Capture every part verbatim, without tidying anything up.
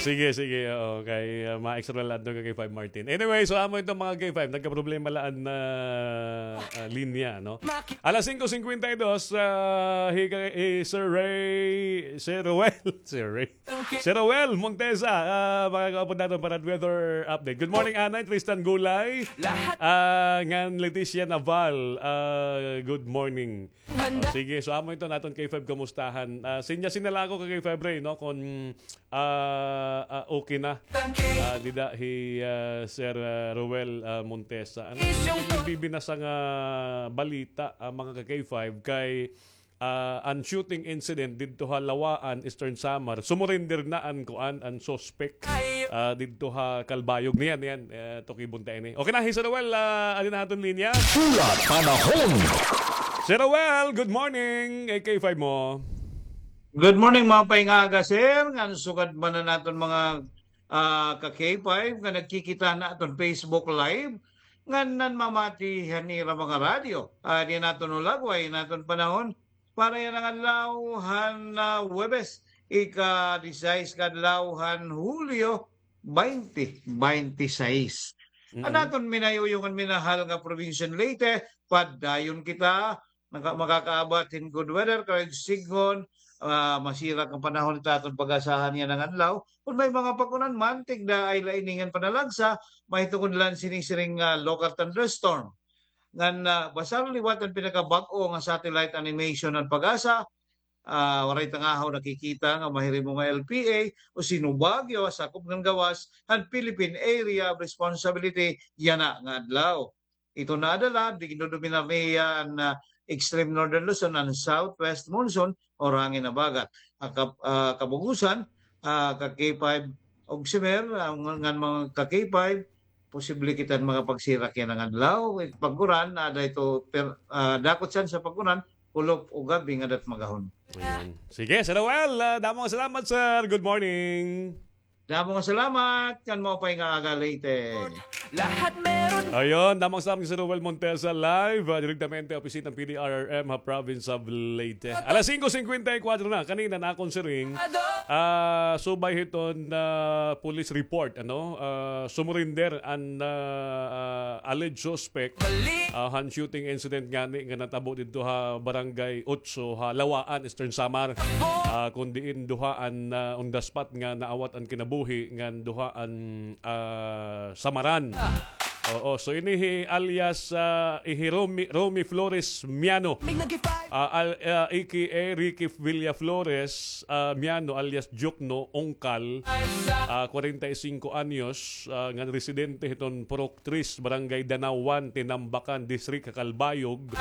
Sige, sige, oo, kay, ah, ma-extra lang ka K five Martin. Anyway, so amo ito mga K five, nagkaproblema lang an, ah, ah, linya, no? Alas singko singkwenta y dos, ah, hi, hi Sir Ray, Sir Roel, Sir Ray. Sir Roel Montesa, ah, makakaupod naton para weather update. Good morning, Anay, Tristan Gulay. Ah, ngan Leticia Naval, ah, good morning. Oh, sige, so amo ito naton K five kamustahan. Ah, sinya-sinya la ako ka K five Ray, no? Kon, ah, ah, okay na. Ah, dida hi, ah, Sir, ah, Roel, ah, Montesa. Ano, bibinasa nga balita, ah, mga ka K five kay, ah, an shooting incident didto ha Lawaan, Eastern Samar. Sumurrender na an kuan, an suspect, ah, didto ha Calbayog. Niyan, niyan, eh, tukibon ta ini. Okay na, hi Sir Roel, ah, adi na aton linya. Hulat panahon. Sir Roel, good morning. Kay K five mo. Good morning, maupay nga aga, sir. Ngan sugad man an aton mga, ah, ka K five nga nagkikita han aton Facebook Live, ngan nanmamati han ira mga radyo. Ah, adi an aton hulagway han aton panahon para yana nga adlaw han, ah, Huwebes, ika-disisais ka adlaw han Hulyo, baynte baynte sais. An aton minayuyong ngan minahal nga probinsya han Leyte, padayon kita naka-, makakaabat hin good weather, kay sidngon, ah, masirak an panahon, ito aton pag-asahan yana nga adlaw. Kon may mga pag-unan man, tigda ay la ini ngan panalagsa, mahitukod la an sini-siring nga local thunderstorm. Ngan, ah, basar liwat an pinakabag-o nga satellite animation han PAGASA, ah, waray tangahaw nakikita nga mahirimo nga L P A o sinubagyo ha sakop ngan gawas han Philippine Area of Responsibility yana nga adlaw. Ito naadala, gindodominar niya an, ah, extreme northern Luzon, an southwest monsoon o hangin habagat. Ah, kab-, ah, kabugusan, ah, ka K five Ogsimer, ah, ngan, ngan mga ka K five, posible kita makapagsirak yana nga adlaw. Pag-uran, ah, ada ito, per-, ah, dako tsansa pag-uran, kulop o gabi nga adat magahon. Ayan. Sige, Sir Roel, ah, damo nga salamat, sir. Good morning. Damo nga salamat, ngan maupay nga aga, Leyte. Ayun, damo nga salamat, Sir Roel Montesa, live, ah, direktamente opisina han P D R R M ha province of Leyte. Alas singko singkwenta y kwatro na, kanina na akon siring, ah, subay hiton, ah, police report, ano, ah, sumurrender an, ah, ah, alleged suspect, ah, han shooting incident ngani nga natabo didto ha Barangay Otso ha Lawaan, Eastern Samar. Ah, kon diin duha an, ah, on the spot nga naawat an kinabuhi ngan duha an, ah, samaran. Oo, so ini hi alias, ah, hi Romy, Romy Flores Miano. Ah, al-, ah, A K A Ricky Villa Flores, ah, Miano alias Jukno Ongkal. Ah, kwarenta y singko anyos, ah, ngan residente hiton Purok Tres, Barangay Danao One, Tinambacan District, ha Calbayog.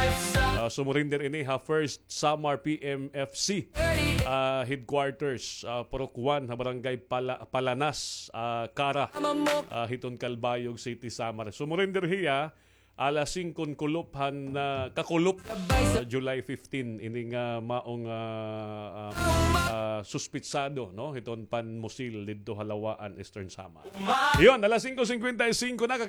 Ah, sumurrender ini ha First Samar P M F C, ah, headquarters, ah, Purok One, ha Barangay Pala-, Palanas, ah, Cara, ah, hiton Calbayog City, Samar. Sumurrender hiya alas singko kulop han, ah, kakulop, ah, July fifteen, ini nga maong, ah, ah, ah, suspitsado, no, hiton panmusil didto ha Lawaan, Eastern Samar. Iyon, alas singko singkwenta y singko na, ka